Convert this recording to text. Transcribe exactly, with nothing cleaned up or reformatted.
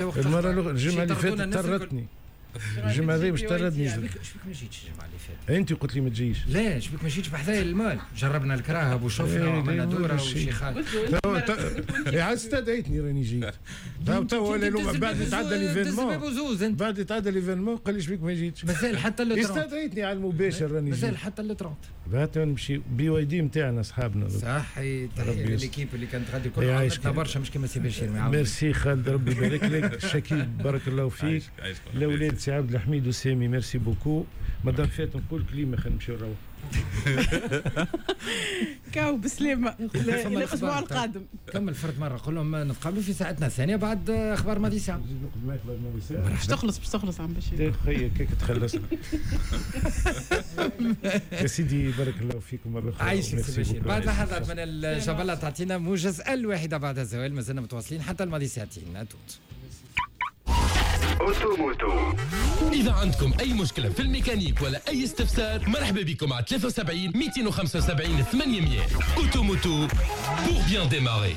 المرة الجمعة اللي فاتت طردتني، الجمعة هذه باش طردني. شبيك ما جيتش الجمعة اللي فاتت؟ انت قلت لي ما تجيش. لا شبيك ما جيتش بحذايا المال، جربنا الكراهب وشفنا وعملنا دوره وشي خالد. عاد استدعيتني راني جيت. تو ولا بعد يتعدى l'événement، بعد يتعدى l'événement قال لي شبيك ما جيتش. مازال حتى le trente. استدعيتني على المباشر راني جيت. مازال حتى le trente. بعد نمشي BYD نتاعنا اصحابنا. صحيح، تحية ل l'équipe اللي كانت غادي كل عاونتنا برشا، مش كيما سي بشير. ميرسي خالد، ربي يبارك لك. شكيب بارك الله فيك. الاولاد سي عبد الحميد وسامي merci beaucoup. مدام فات نقول كلمة خلينا نمشيو نروح. كاو بسلامه الى الاسبوع القادم. كمل فرد مرة، قول لهم نتقابلوا في ساعتنا الثانية بعد اخبار ماضي ساعة. نقعد معاك بعد ماضي ساعة. باش تخلص باش تخلص عم بشير. خير كيك تخلصنا. يا سيدي بارك الله فيكم مرة اخرى. عايشك سي بشير. بعد لحظات من الجبلة تعطينا موجز الواحدة بعد الزوال، مازلنا متواصلين حتى الماضي ساعتين. tout auto moto. إذا عندكم أي مشكلة في الميكانيك ولا أي استفسار مرحبا بكم على ثلاثة وسبعين مئتين وخمسة وسبعين ثمانمية. auto moto pour bien démarrer.